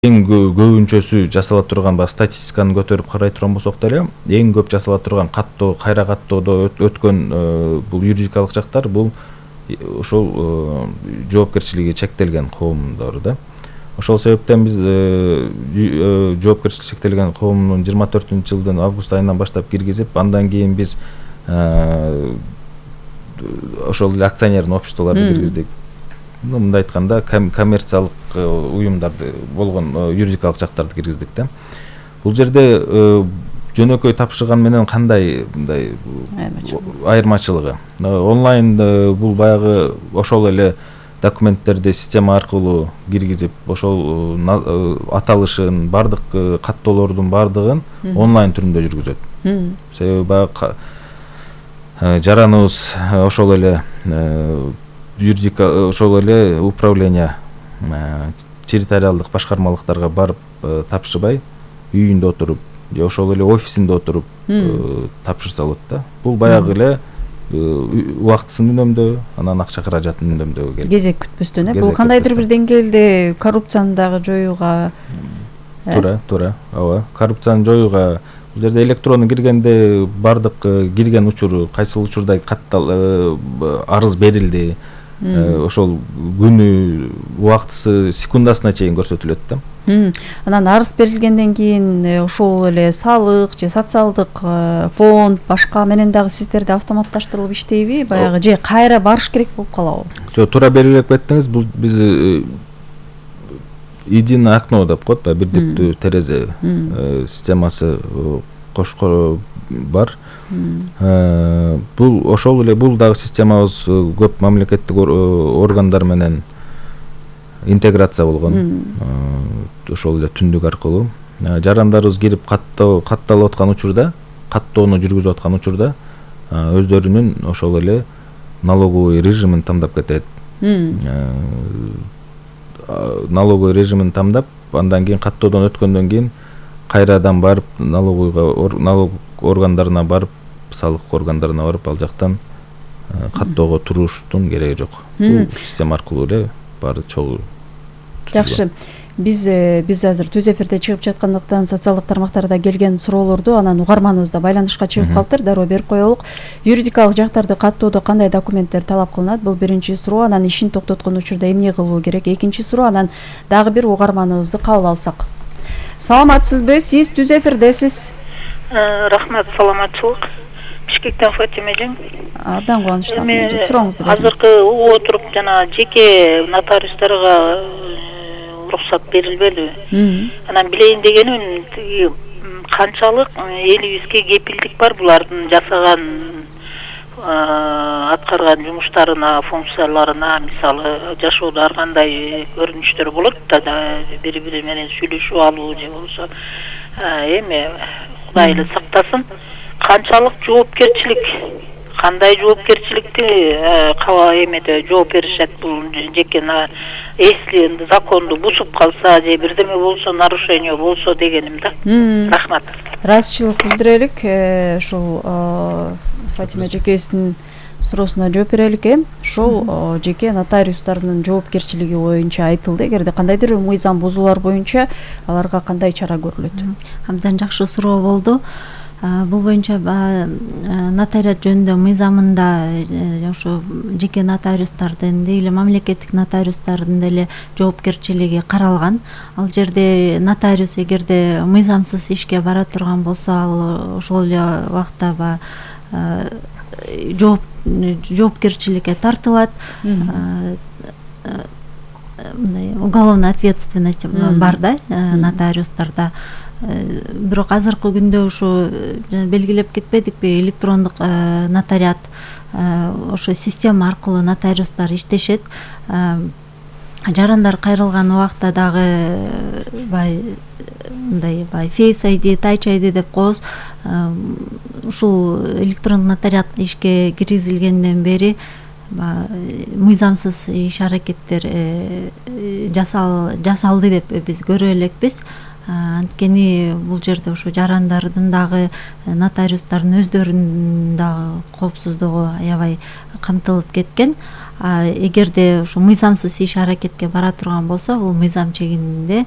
эң көбүнчөсү жасала турган статистиканы көтөрүп карай турган болсок деле эң көп жасала турган каттоо, кайра каттоодо өткөн бул юридикалык жактар бул ошол жоопкерчилиги чектелген коомдор да. Ошол себептен биз жоопкерчилиги чектелген коомдун 24-жылдын август айынан баштап киргизип, андан кийин биз ошол эле акционерный обществолорду киргиздик. Мындай айтканда коммерциялык уюмдарды болгон юридикалык жактарды киргиздик да. Бул жерде жөнөкөй тапшырган менен кандай мындай айырмачылыгы? Онлайн бул баягы ошол эле документтерди система аркылуу киргизип, ошол аталышын, бардык каттоолордун бардыгын онлайн түрүндө жүргүзөт. Себеби баягы жараныбыз ошол эле ошол эле управление территориалдык башкармалыктарга барып тапшырбай, үйүндө отуруп же ошол эле офисинде отуруп тапшырса болот да. Бул баягы эле убактысын үнөмдөө, анан акча каражатын үнөмдөөгө келет. Кезек күтпөстөн, бул кандайдыр бир деңгээлде коррупцияны дагы жоюуга туура, ооба. Коррупцияны жоюуга бул жерде электронду киргенде бардык кирген учуру, кайсыл учурда арыз берилди, ошол күнү, убактысы, секундасына чейин көрсөтүлөт да. Анан арыз берилгенден кийин ошол эле салык же социалдык фонд башка менен дагы сиздерде автоматташтырылып иштейби? Баягы же кайра барыш керек болуп калабы? Жок, туура белгилеп кеттиңиз. Бул биз единое окно деп коет, бирдиктүү терезе системасы бар. Бул ошол эле бул дагы системабыз көп мамлекеттик органдар менен интеграция болгон. Ошол эле түндүк аркылуу жарандарыбыз кирип катталып аткан учурда, каттоону жүргүзүп аткан учурда өздөрүнүн ошол эле налоговый режимин тандап кетет. Налоговый режимин тандап, андан кийин каттоодон өткөндөн кийин кайрадан барып налог органдарына барып, салык органдарына барып, ал жактан каттоого туруштун кереги жок. Бул система аркылуу эле баары чогуу. Жакшы. Биз азыр түз эфирде чыгып жаткандыктан социалдык тармактарда келген суроолорду анан угарманыбыз да байланышка чыгып калыптыр, дароо берип коелук. Юридикалык жактарды каттоодо кандай документтер талап кылынат? Бул биринчи суроо. Анан ишин токтоткон учурда эмне кылуу керек? Экинчи суроо. Анан дагы бир угарманыбызды кабыл алсак. Саламатсызбы? Сиз түз эфирдесиз. Рахмат, саламатчылык. Бишкектен Фатима эжең. Абдан кубанычтамын. Сурооңузду бериңиз. Азыркы угуп отуруп жана жеке нотариустарга уруксат берилбедиби? Анан билейин дегеним, канчалык элибизге кепилдик бар булардын жасаган аткарган жумуштарына, функцияларына, мисалы жашоодо ар кандай көрүнүштөр болот да, бири-бири менен сүйлөшүп алуу же болбосо эме Кудай эле сактасын, канчалык жоопкерчилик, кандай жоопкерчиликти эмеде жооп беришет бул жеке если законду бузуп калса же бирдеме болсо, нарушение болсо дегеним да. Рахмат. Ыраазычылык билдирелик. Ушул Фатима жекесинин суроосуна жооп берелик. Ушул жеке нотариустардын жоопкерчилиги боюнча айтылды. Эгерде кандайдыр мыйзам бузуулар боюнча аларга кандай чара көрүлөт? Абдан жакшы суроо болду. Бул боюнча нотариат жөнүндө мыйзамында ошо жеке нотариустардын деле мамлекеттик нотариустардын деле жоопкерчилиги каралган. Ал жерде нотариус эгерде мыйзамсыз ишке бара турган болсо, ал ошол эле убакта жоопкерчиликке тартылат. Мындай уголовная ответственность бар да нотариустарда. Бирок азыркы күндө ушу белгилеп кетпедикпи, электрондук нотариат ошо система аркылуу нотариустар иштешет. Жарандар кайрылган убакта дагы мындай Face ID, Touch ID деп коебуз. Ушул электрондук нотариат ишке киргизилгенден бери мыйзамсыз иш аракеттер жасалды деп биз көрө элекпиз. Анткени бул жерде ошо жарандардын дагы нотариустардын өздөрүнүн дагы коопсуздугу аябай камтылып кеткен. эгерде ушу мыйзамсыз иш аракетке бара турган болсо, бул мыйзам чегинде